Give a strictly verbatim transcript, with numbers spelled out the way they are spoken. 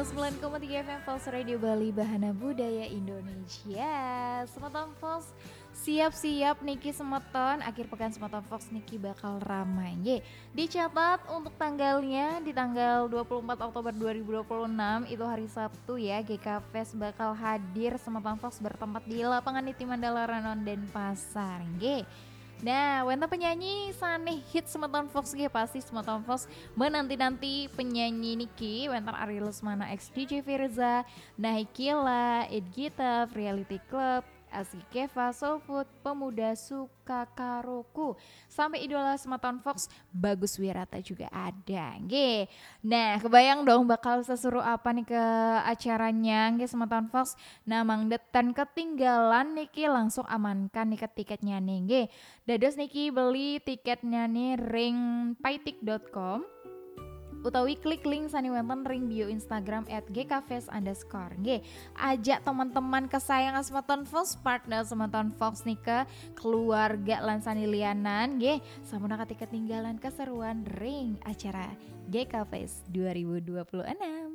Sembilan koma tiga F M Fox Radio Bali, Bahana Budaya Indonesia. Semeton Fox, siap-siap niki semeton, akhir pekan semeton Fox niki bakal ramai, nggih. Dicatat untuk tanggalnya, di tanggal dua puluh empat Oktober dua ribu dua puluh enam, itu hari Sabtu ya, G K Fest bakal hadir, semeton Fox, bertempat di lapangan Niti Mandala Renon, Denpasar, nggih. Nah, wénten penyanyi sané hits semeton Fox nggih, pasti semeton Fox menanti-nanti penyanyi niki, wénten Ari Lesmana X D J Firza, Nahikila, Ed Gitaf, Reality Club, Aski Keva, Soul Food, Pemuda Suka Karoku, sampai idola semeton Fox, Bagus Wirata juga ada. Nggih. Nah, kebayang dong bakal seseru apa nih ke acaranya, nggih, semeton Fox. Nah, mangda ten ketinggalan niki, langsung amankan nih ke tiketnya nih, nggih. Dados niki beli tiketnya nih ring paitik dot com utawi klik link sané wénten ring bio Instagram at G K Fest underscore. Nggih, ajak teman-teman kesayangan semeton Fox, partner semeton Fox nika, keluarga lan sané lianan, nggih, sampunang ketinggalan keseruan ring acara G K Fest dua ribu dua puluh enam.